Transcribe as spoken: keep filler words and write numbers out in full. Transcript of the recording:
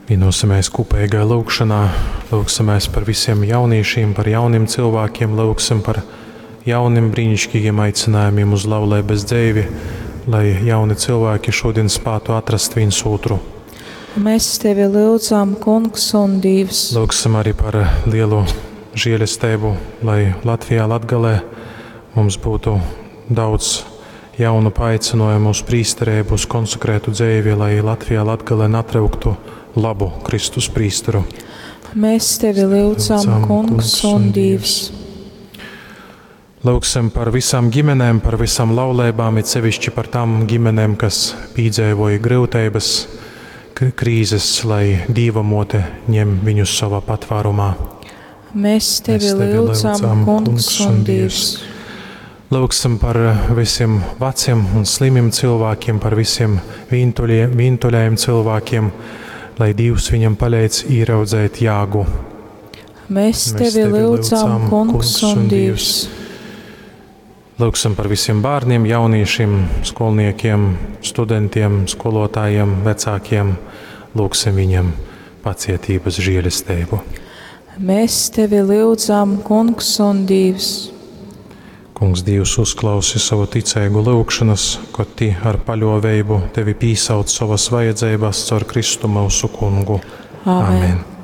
Vienosimies kopīgā lūgšanā, lūgsimies par visiem jauniešiem, par jauniem cilvēkiem, lūgsim par jauniem brīnišķīgiem aicinājumiem uz laulības dzīvi, lai jauni cilvēki šodien spētu atrast viens otru. Mēs tevi lūdzam, Kungs un Dievs. Lūgsim arī par lielu žēlastību, lai Latvijā, Latgalē mums būtu daudz jaunu paaicinājumu uz prīsterību, uz konsekrētu dzīvi, lai Latvijā, Latgalē natreuktu labu Kristus prīsteru. Mēs tevi lūdzam, Kungs un Dievs. Lūgsim par visām ģimenēm, par visām laulībām, it sevišķi par tām ģimenēm, kas piedzīvoja grūtības, krīzes, lai Dieva mote ņem viņus savā patvērumā. Mēs tevi, Mēs tevi lūdzam, lūdzam, Kungs un Dievs. Lūgsim par visiem veciem un slimiem cilvēkiem, par visiem vientuļie, vientuļajiem cilvēkiem, lai Dievs viņam palīdz ieraudzēt jāgu. Mēs tevi, Mēs tevi lūdzam, Kungs un Dievs. Lūgsim par visiem bērniem, jauniešiem, skolniekiem, studentiem, skolotājiem, vecākiem. Lūgsim viņiem pacietības žēlastību. Mēs tevi lūdzam, Kungs un Dievs. Kungs Dievs uzklausi savu ticīgu lūgšanas, kad ti ar paļoveibu tevi pīsauc savas vajadzības caur Kristu mūsu kungu. Āmen. Amen.